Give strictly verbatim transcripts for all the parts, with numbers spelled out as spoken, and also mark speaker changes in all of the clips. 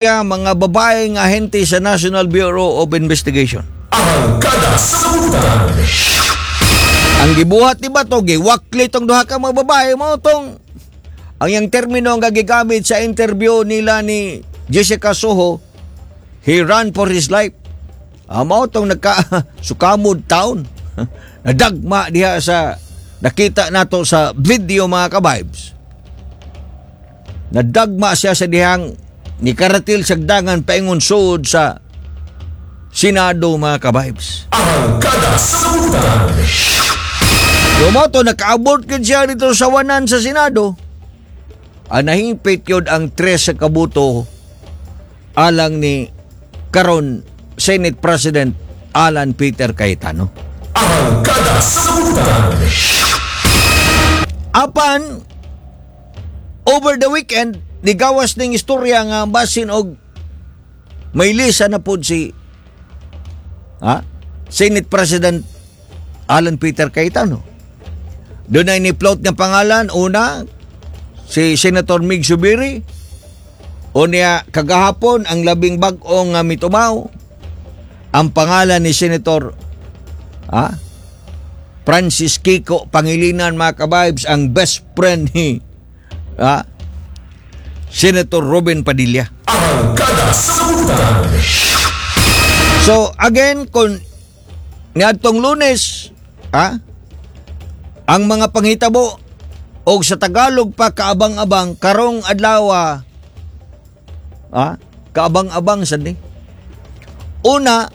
Speaker 1: Mga babaeng ahente sa National Bureau of Investigation.
Speaker 2: Arangkada sa Butan.
Speaker 1: Ang gibuhat ni Bato, giwakli tong duha ka mga babae mo tong ang iyang termino ang gigamit sa interview nila ni Jessica Soho, he ran for his life. Ah, mao tong nagka sukamod town. Nadagma diha sa nakita nato sa video, mga ka-vibes. Nadagma siya sa dihang ni karatil sa dangan paingon sud sa Senado, mga ka-vibes.
Speaker 2: Arangkada sa Butan.
Speaker 1: Lumoto, nakaabot gid siya dito sa wanan sa Senado. Ang nahimpit yun ang tres sa kabuto alang ni karon Senate President Alan Peter Cayetano.
Speaker 2: Arangkada sa Butan.
Speaker 1: Apan, over the weekend, nigawas ning istorya nga basin og may lisa na pod si, ha, Senate President Alan Peter Cayetano. Doon ay ni-float nga pangalan, una, si Senator Migz Zubiri, o niya kagahapon ang labing bag-ong nga mitumaw, ang pangalan ni Senator, ha, Francis Kiko Pangilinan, mga ka-vibes, ang best friend ni, ha, Senator Robin Padilla.
Speaker 2: Arangkada sa Butan.
Speaker 1: So again, kung niadtong Lunes, ha, ang mga panghitabo og sa Tagalog pa kaabang-abang, karong adlaw, ha, kaabang-abang sad ni. Una,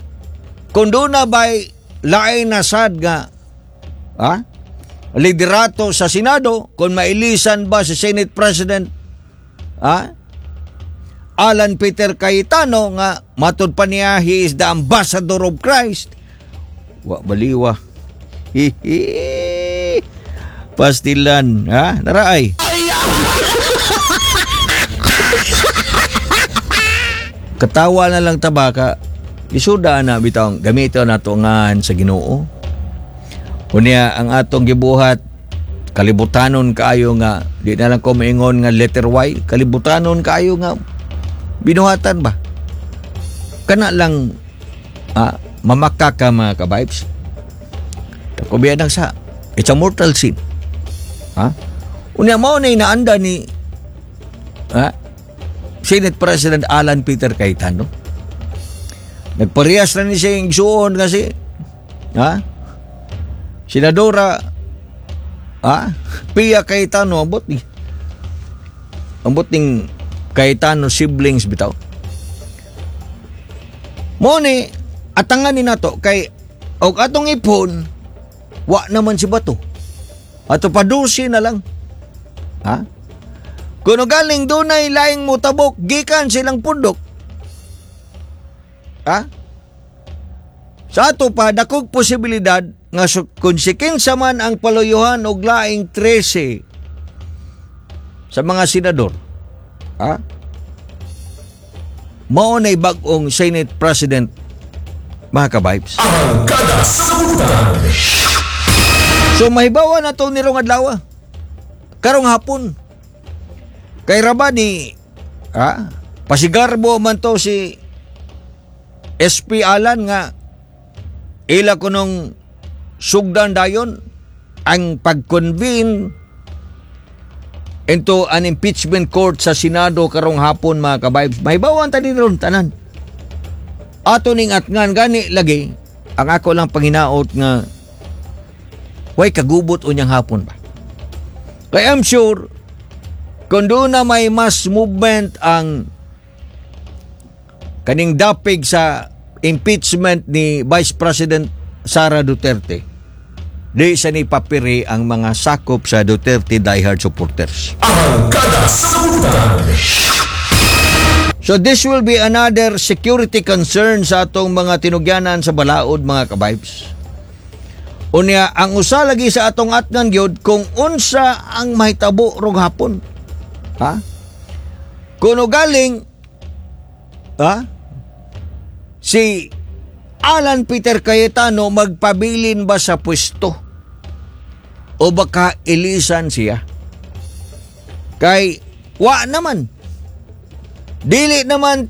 Speaker 1: kung doon na ba'y lain na sad nga, ha, liderato sa Senado, kung mailisan ba si Senate President, ha, Alan Peter Cayetano nga matud pa niya he is the ambassador of Christ. Wa baliwa. Hihi. Pastilan, ha? Naraay. Katawa na lang tabaka. Isuda na bitong gamito na ngan sa Ginoo. Unya ang atong gibuhat kalibutanon kaayo nga di na lang ko maingon nga letter Y, kalibutanon kaayo nga binuhatan ba? Kana lang, ah, mamaka ka, mga ka-vibes. Takubiyan lang sa it's a mortal sin. Ha? Unya mao na inaanda ni, ha, Senate President Alan Peter Cayetano. Nagparehas na ni siya yung igsuon kasi, ha, Senadora, ha, Pia Cayetano, ambot ni ambot ning Cayetano siblings bitaw. Mo ni atangan ni nato kay og atong ipon wa naman si Bato. Ato padusi na lang. Ha? Kuno galing dunay laing mutabok gikan silang pundok. Ha? Sa ato pa dakog posibilidad nga su- kung si kinsa man ang paluyuhan og laing trese sa mga senador. Ha? Mao na'y bag-ong Senate President, mga ka-vibes.
Speaker 2: Arangkada sa Butan.
Speaker 1: So mahibawa na to nirong adlaw. Karong hapon. Kay raba ni, ha, pasigarbo man to si S P Alan nga ila kunong sugdan dayon ang pag-convene into an impeachment court sa Senado karong hapon, mga ka-vibes. Mahibawan ta din ron tanan. Ato ning atngan gani lagi ang ako lang panginaot nga way kagubot unyang hapon ba. Kaya I'm sure kung doon na may mass movement ang kaning dapig sa impeachment ni Vice President Sara Duterte, di sa ni papiri ang mga sakop sa Duterte diehard supporters.
Speaker 2: Arangkada sa Butan.
Speaker 1: So this will be another security concern sa atong mga tinugyanan sa balaod, mga ka-vibes. Unya, ang usa lagi sa atong atngan gyud kung unsa ang mahitabo rong hapon. Ha? Kuno galing, ha, si Alan Peter Cayetano magpabilin ba sa pwesto? O baka ilisan siya? Kay wa naman. Dili naman.